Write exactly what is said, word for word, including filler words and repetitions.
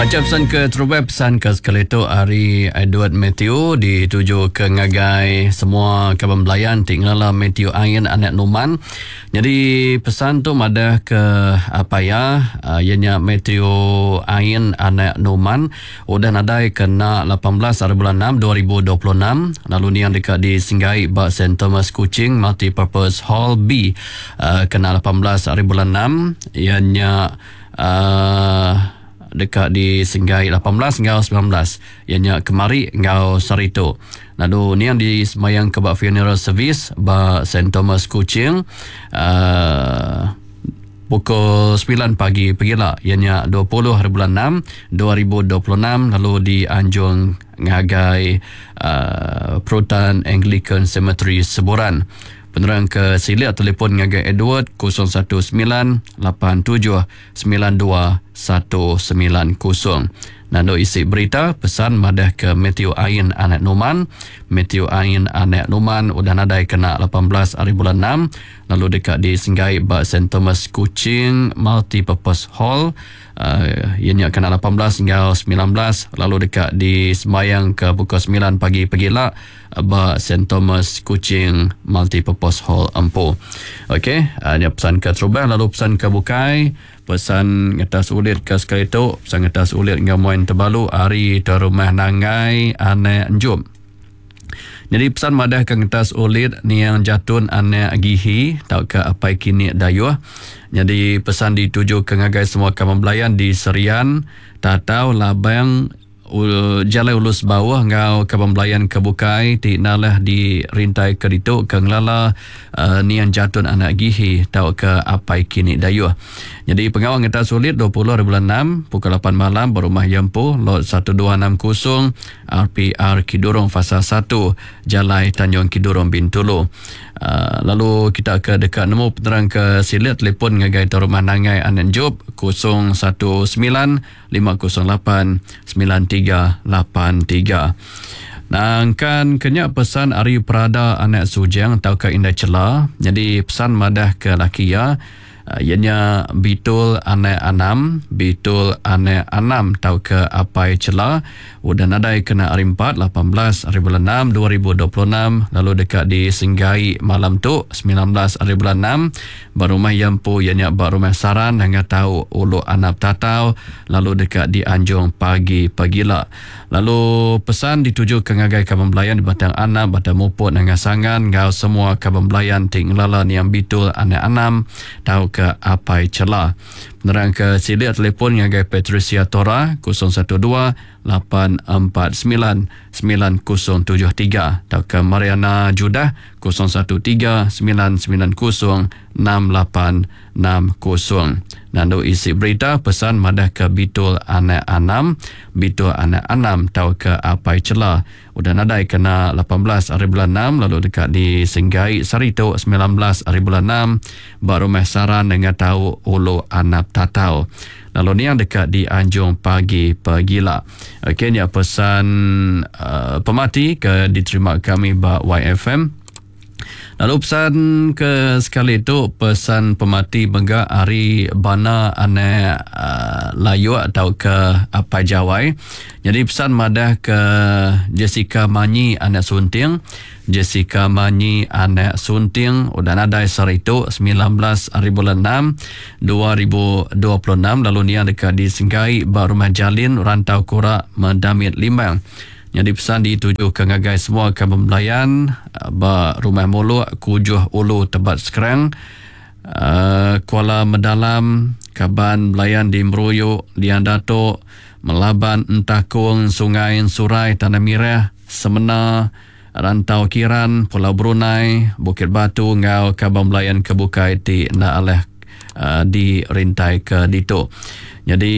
Macha pesan ke terubah pesan ke sekali tu ari Edward Matthew dituju ke ngagai semua kaban belayan ti ngelala Matthew Ain anak Numan. Jadi pesan tu madah ke apa ya iya nya Matthew Ain anak Numan udah nadai kena lapan belas hari bulan enam dua ribu dua puluh enam lalu niang deka disinggai ba Saint Thomas Kuching Multipurpose Hall B kena lapan belas hari bulan enam iya nya uh, deka disenggai lapan belas enggau sembilan belas iya nya kemari enggau sehari tu. Lalu niang disemayang ke ba funeral service ba Saint Thomas Kuching uh, pukul sembilan pagi pegila iya nya dua puluh hari bulan enam dua ribu dua puluh enam lalu dianjung ngagai uh, Perutan Anglican Cemetery Seburan. Penerang ke silik telefon ngagai Edward kosong satu sembilan lapan tujuh sembilan dua satu sembilan kosong. Nando isi berita pesan madah ke Matthew Ain anak Numan. Matthew Ain anak Numan udah nadai kena lapan belas hari bulan enam lalu dekat disenggai ba Saint Thomas Kuching Multipurpose Hall. Uh, ianya kena lapan belas hingga sembilan belas lalu dekat disembayang ke pukul sembilan pagi pegila ba Saint Thomas Kuching Multipurpose Hall Empu. Okey, uh, nya pesan ke terubah lalu pesan ke bukai pesan ngetas ulit ke sekali tu pesan ngetas ulit enggau moin tebalu ari ke rumah Nangai anak Enjum. Jadi pesan madah ke ngetas ulit niang jatun anak Gihi tau ke apai kini dayuh. Jadi pesan dituju ke ngagai semua kaban belayan di Serian, Tatau, Labang, Jalai Ulus Bawah ngau kaban belayan ke bukai ti nalah di rintai ke ditu ke ngelala uh, niang jatun anak Gihi tau ke apai kini dayuh. Jadi pengawal ngetas ulit dua puluh hari bulan enam pukul lapan malam berumah Yempu lot satu dua enam kosong R P R Kidurong Fasa satu Jalai Tanjung Kidurong Bintulu. Uh, lalu kita ke dekat nemu penerang ke silat telefon ngagai rumah Nangai Anak Job kosong satu sembilan lima kosong lapan sembilan tiga lapan tiga. Nangkan kenya pesan ari Prada anak Sujang atau ke Indah Cela. Jadi pesan madah ke laki ya ianya Bitul anak Anam, Bitul anak Anam tau ke apai Cela udah nadai kena hari empat lapan belas hari bulan enam dua ribu dua puluh enam lalu dekat disenggai malam tu sembilan belas hari bulan enam ba rumah Yempu ianya ba rumah Saran hingga tau Ulu Anap Tatau lalu dekat dianjung pagi pagila. Lalu pesan dituju ke ngagai kaban belayan di Batang Anap, Batang Muput, Nanga Sangan ngau semua kaban belayan ti ngelala niang Bitul anak Anam tau ke apai Cela. Penerang ke silik telefon ngagai Patricia Tora kosong satu dua lapan empat sembilan sembilan kosong tujuh tiga atau ke Mariana Judah kosong satu tiga sembilan sembilan kosong enam lapan enam kosong. Nandu isi berita pesan madah ke Bitul anak Anam, Bitul anak Anam tau ke apai Cela udah nadai kena lapan belas hari bulan enam lalu dekat di Senggai Sarito sembilan belas hari bulan enam ba rumah Saran dengan tau Ulu Anap Tatau. Lalu ni yang dekat di Anjung pagi pegila. Okey, ni pesan uh, pemati ke diterima kami ba Y F M. Lalu pesan ke sekali tu pesan pemati mega ari Bana anak uh, Layu atau ke Apai Jawai. Jadi pesan madah ke Jessica Manyi anak Sunting. Jessica Manyi anak Sunting udah nadai sehari tu sembilan belas hari bulan enam dua ribu dua puluh enam lalu nia dekat disenggai ba rumah Jalin Rantau Kurak Medamit Limbang. Jadi pesan dituju ke ngagai semua kaban belayan ba rumah Muluk Kujuh Ulu Tebat Sekerang, uh, Kuala Mendalam, kaban belayan di Meruyuk, Lian Datuk, Melaban Entakung, Sungai Surai, Tanah Mirah, Semena, Rantau Kiran, Pulau Brunei, Bukit Batu ngau kaban belayan ke bukai ti nda aleh uh, di rintai ke ditu. Jadi